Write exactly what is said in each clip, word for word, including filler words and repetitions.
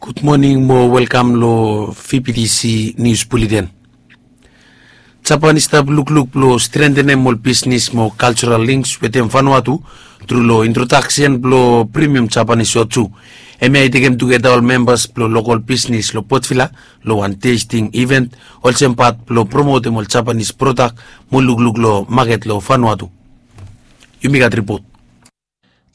Gud moning mo welkam lo V P T C Nius Buleten. Japan i stap lukluk blo strentenem ol bisnis mo kaljoral links wetem Vanuatu tru lo introdaksen blo premium Japanese soju. Hemia i tekem tugeta ol membas blo lokol bisnis lo Port Vila lo wan testing event olsem pat blo promotem ol Japanese prodak mo lukluk lo maket lo Vanuatu. Yumi gat ripot.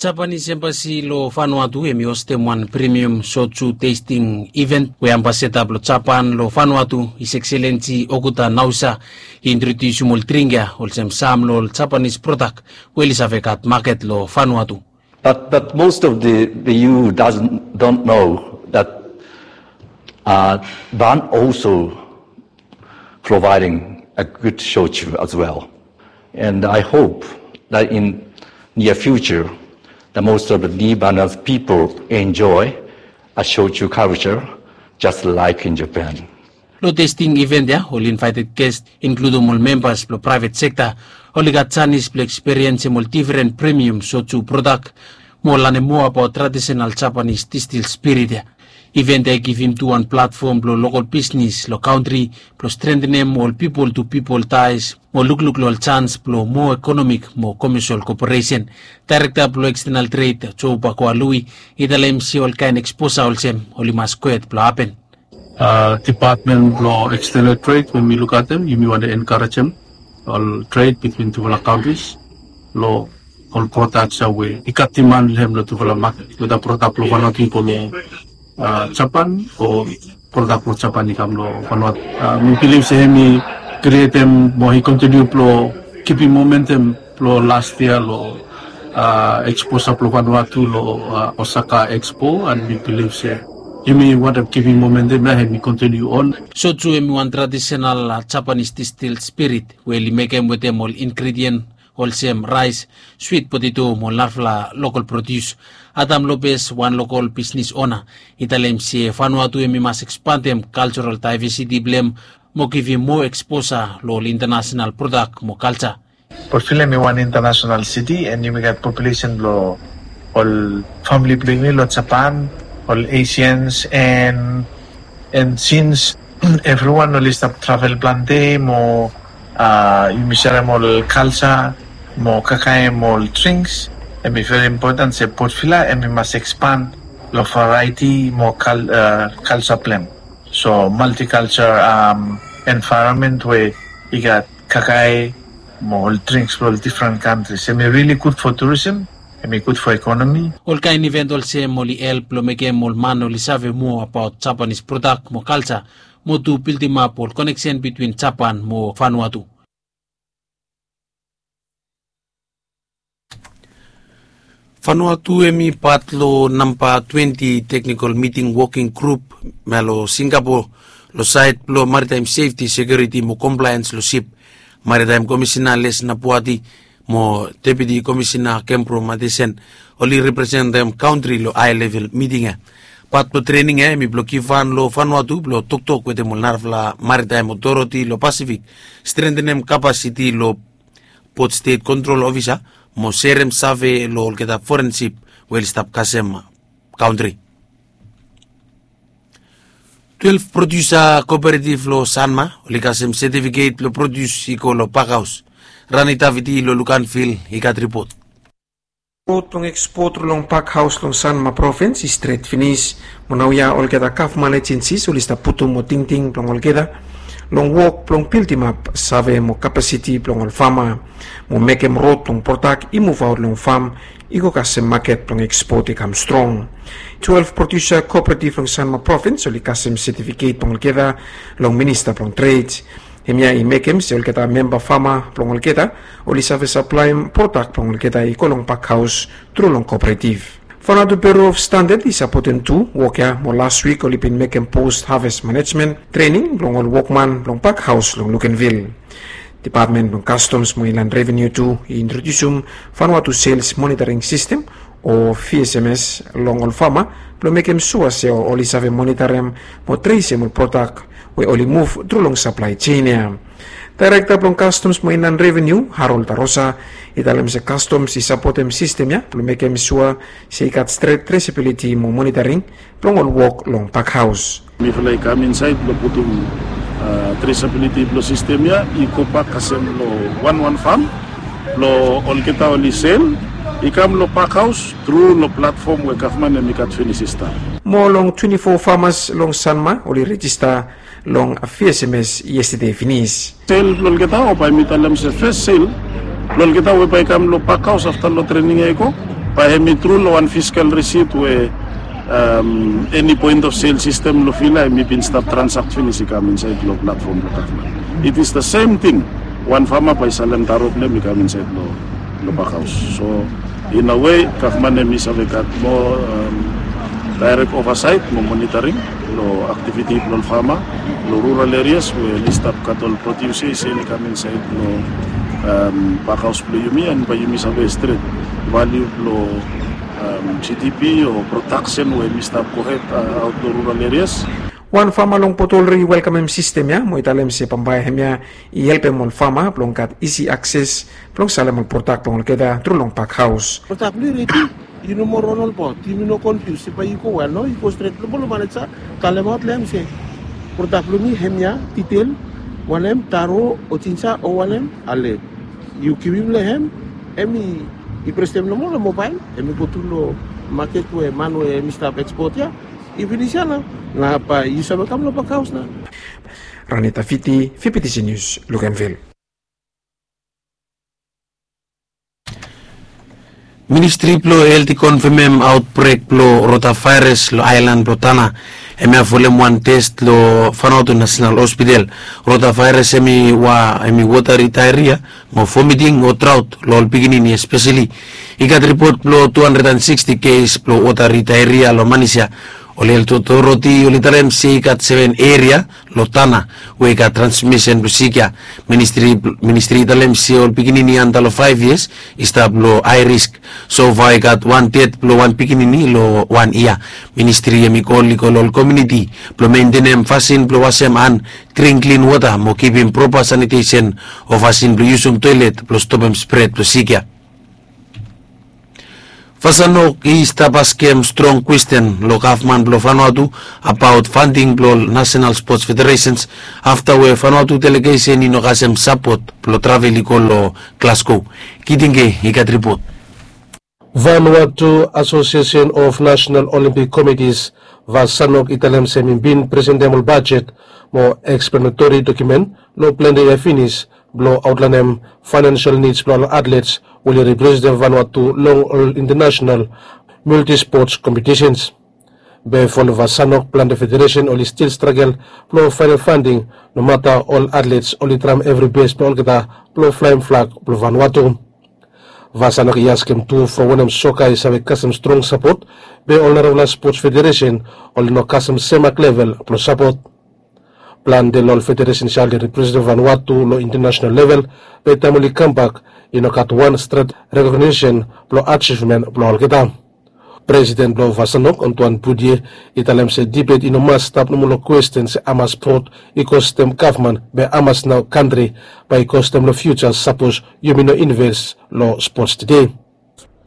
Japanese Embassy lo Vanuatu hemi hostem wan premium soju testing event we ambasada blo Japan lo Vanuatu, His Excellency Okuda Naosa, i introdiusim ol dring ya olsem sam lo ol Japanese prodak we oli save gat maket lo Vanuatu. But, but most of the, the E U doesn't, don't know that, uh, Van also providing a good shochu as well. And I hope that in near future, the most of the Lebanese people enjoy a shochu culture just like in Japan. Lo testing event ya, ol invited guest, inkludem ol membas blo private sector, oli gat janis blo eksperiensem ol diferen premium soju prodak mo lanem moa abaot tradisional Japanese distil spirit ya. Event ya i givim tu wan platfom blo lokol bisnis lo kantri blo strentenem ol pipol tu pipol tais mo lukluk lo ol jans blo moa ekonomik mo komesol koporesen. Daerekta blo ekstenal tred, Joe Bakoa Lui, i talem se ol kaen eksposa olsem oli mas kwet blo hapen. Depatmen blo ekstenal tred we mi lukaotem, yumi wantem enkarejem ol tred bitwin tufala kantris lo ol prodaks ya we i gat diman lo hem lo tufala maket, weda prodak blo Vanuatu i go lo Japan o prodak blo Japan i kam lo Vanuatu. Mi bilif se hemi krietem mo i kontiniu blo kipim momentum blo las yia lo eksposa blo Vanuatu lo Osaka Expo, and mi bilif se yumi wantem kipim momentum ya, hemi kontiniu on. Soju hemi wan tradisional Japanese distil spirit we oli mekem wetem ol ingredien olsem raes, swit poteto mo ol narafala lokol produs. Adam Lopez, wan lokol bisnis ona, i talem se Vanuatu hemi mas ekspandem kaljoral daevesiti blo hem mo givim moa eksposa lo ol intanasenal prodak mo kalja. Port Vila hemi wan intanasenal siti, and yumi gat populesen blo ol famili blo yumi lo Japan, ol Asians, and, and since evriwan oli stap travel plante mo yumi serem ol kalja mo kakaem ol drinks, hemi veri impoten se Port Vila hemi mas ekspand lo variety mo kalja blo hem. So multiculture environment we i gat kakae mo ol drinks blo ol difren kantris. Hemi rili gud fo turism, hemi gud fo ekonomi. Ol kaen iven olsem oli help blo mekem ol man oli save moa abaot Japanese prodak mo kalja, mo tu bildimap ol koneksen bitwin Japan mo Vanuatu. Vanuatu hemi pat lo namba twenti teknikol miting woking grup mea lo Singapore lo saed blo maritaem sefti, sekiuriti mo komplaens lo sip. Maritaem Komisina Les Napuati mo Deputi Komisina Kempro Matesen oli representem kantri lo hae level miting ya. Pat blo trening ya hemi blo givhan lo Vanuatu blo toktok wetem ol narafala maritaem otoriti lo Pasifik, strentenem kapasiti lo Port Stet Kontrol Ofisa mo serem save lo olgeta foren sip we oli stap kasem kantri. Twelef prodiusa kooperativ lo Sanma oli kasem setifiket blo prodius i go lo pakhaos. Rani Davidi lo Lukanvil i gat ripot. Rod blong ekspot tru long pakhaos long Sanma provins i stret finis. Mo naoia olgeta gavman ejensis oli stap putum mo tingting blong olgeta long wok blong bildimap save mo kapasiti blong ol fama mo mekem rod blong prodak i muvaot long fam i go kasem maket blong ekspot i kam strong. Twelef prodiusa kooperativ long Sanma provins oli kasem setifiket blong olgeta long Minista blong Tred. Hemia i mekem se olgeta memba fama blong olgeta oli save saplaem prodak blong olgeta i go long pakhaos tru long kooperativ. Vanuatu Bureau of Standard i sapotem tu wok ya mo las wik oli bin mekem post harvest manejmen trening blong ol wokman blong pakhaos long Lukenvil. Depatmen blong Kastoms mo Inland Revenu tu i introdiusim Vanuatu Sales Monitoring System o V S M S long ol fama blong mekem sua se oli save monitorem mo tresem ol prodak we oli muv tru long saplae jein ya. Daerekta blong Kastoms mo Inlan Reveniu, Harold Tarosa, i talem se Kastoms i sapotem sistem ya blong mekem sua se i gat stret tresabiliti mo monitaring blong ol wok long pakhaos. Mifala i kam insaed blong putum tresabiliti blong sistem ya i gobak kasem long wanwan fam blong olgeta oli sel i kam long pakhaos tru long platfom we gavman hem i gat finis i stap. Moa long twenti fo famas long Sanma oli rejista long V S M S yestade finis. Sel blong olgeta o bae mi talem se fes sel blong olgeta we bae i kam long pakhaos afta long trening ya i go, bae hem i tru long wan fiskal risit we eni poen of sel sistem long Vila hem i bin stap transakt finis i kam insaed long platfom blong gavman. It is the same thing. Wan fama bae i salem taro blong hem i kam insaed long long pakhaos. So in a way gavman hem i save gat moa daerek ovasaet mo monitaring long aktiviti blong ol fama long rural erias we oli stap gat ol produsa se oli kam insaed long pakhaos blong yumi, and bae yumi save stret valiu blong G D P o prodaksen we hem i stap gohed aot long rural erias. Wan fama long Potolri i welkamem sistem ya mo i talem se bambae hemia i helpem ol fama blong gat isi akses blong salem ol prodak blong olgeta tru long pakhaos. Prodak blong yu redi, yu no moa ron olbaot, yu no konfius se bae yu go wel, no, yu go stret long maneja, talemaot long hem se prodak blong mi hemia, ditel, wanem, taro o jinja o wanem, ale, yu givim long hem, hem i prestem nomo long mobael, hem i go tru long maket we man we hem i stap ekspot ya i finis ya nao, na bae yu save kam long pakhaos nao. Ranita Fiti, V P T C News, Luganville. Ministri blong Helt i konfemem aotbrek blong rotavaeras long aelan blong Tana. Hemia folem wan tes long Vanuatu National Hospital. Rotavaeras hem i wa hem i wotari daeria mo vomiting o draot long ol pikinini espeseli. I gat ripot blong tu handred and siksti kes blong wotari daeria long Manis ya. Ol helt otoriti oli talem se i gat seven eria long Tana we i gat transmisen blong sik ya. Ministri i talem se ol pikinini antap long faef yias i stap long hae risk. Sofa i gat wan ded blong wan pikinini long wan yia. Ministri hem i kol i go long ol komuniti blong mentenem fasin blong wasem han, dring klin wota mo kipim propa sanitesen o fasin blong yusum toelet blong stopem spred blong sik ya. Vasanok i stap askem strong kwesten long gavman blong Vanuatu abaot fanding blong ol Nasenal Spots Federesens afta we Vanuatu delegesen i no kasem sapot blong travel i go long Glasgow. Kitinge i gat ripot. Vanuatu Association of National Olympic Committees, Vasanok, i talem se hem i bin presentem ol bajet mo eksplanatori dokumen long plante yia finis blong aotlaenem faenansial nids blong ol atlets we oli representem Vanuatu long ol internasenal multispots kompetisens. Be folem Vasanok, plante federesen oli stil stragel blong faenem fanding nomata ol atlets oli traem evri bes blong olgeta blong flaem flag blong Vanuatu. Vasanok i askem tu from wanem soka i save kasem strong sapot be ol narafala spots federesen oli no kasem semak level blong sapot. Plante long ol federesens ya oli representem Vanuatu long internasenal level be taem oli kambak i no gat wan stret rekognisen blong ajivmen blong olgeta. Presiden blong Vasanok, Antoine Boudier, i talem se dibet i no mas stap nomo long kwesten se hamas spot i kostem gavman be hamas nao kantri bae i kostem long fiuja sapos yumi no inves long spots tede.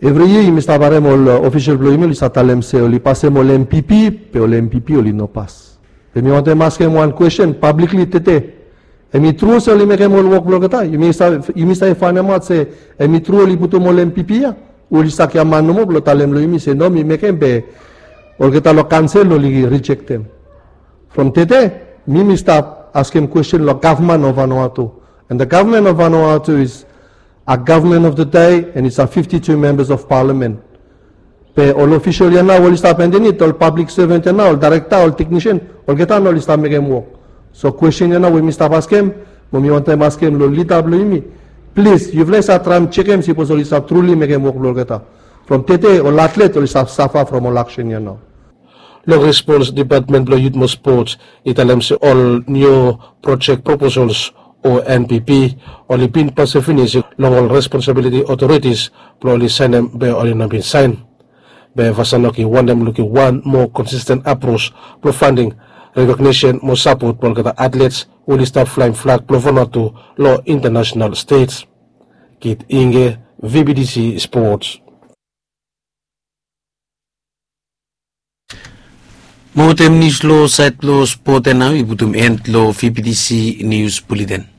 Evri yia yumi stap harem ol ofisol blong yumi oli stap talem se oli pasem ol M P P, be ol M P P oli no pas. Be mi wantem askem wan kwesten pablikli tede. Hem i tru se oli mekem ol wok blong olgeta? Yumi save faenemaot se hem i tru oli putum ol M P P ya? Oli stap gia man nomo blong talem long yumi se no, mi mekem, be olgeta long kaonsel oli rijektem. From tede mi mi stap askem kwesten long gavman of Vanuatu. And the government of Vanuatu is a government of the day and it's a fifty-two members of parliament. Be ol ofisol ya nao oli stap andanit, ol pablik sevan ya nao, ol daerekta, ol teknisen, olgeta nao oli stap mekem wok. So kwesten ya nao we mi stap askem mo mi wantem askem long lida blong yumi, plis yufala i save traem jekem sipos oli stap truli mekem wok blong olgeta. From tede ol atlet oli stap safa from ol aksen ya nao. Long respons, Dipatmen blong Yut mo Spots i talem se ol niu projek proposols o N P P oli bin pasem finis long ol responsabiliti otoritis blong oli saenem be oli no bin saen. Be Vasanok i wantem lukim wan moa konsisten apros blong fanding, rekognisen mo sapot blong olgeta atlets oli stap flaem flag blong Vanuatu long international stej. Kit Inge, V B T C Sports. Mo wetem nius long saed blong spot ya nao i putum en long V B T C Nius Buleten.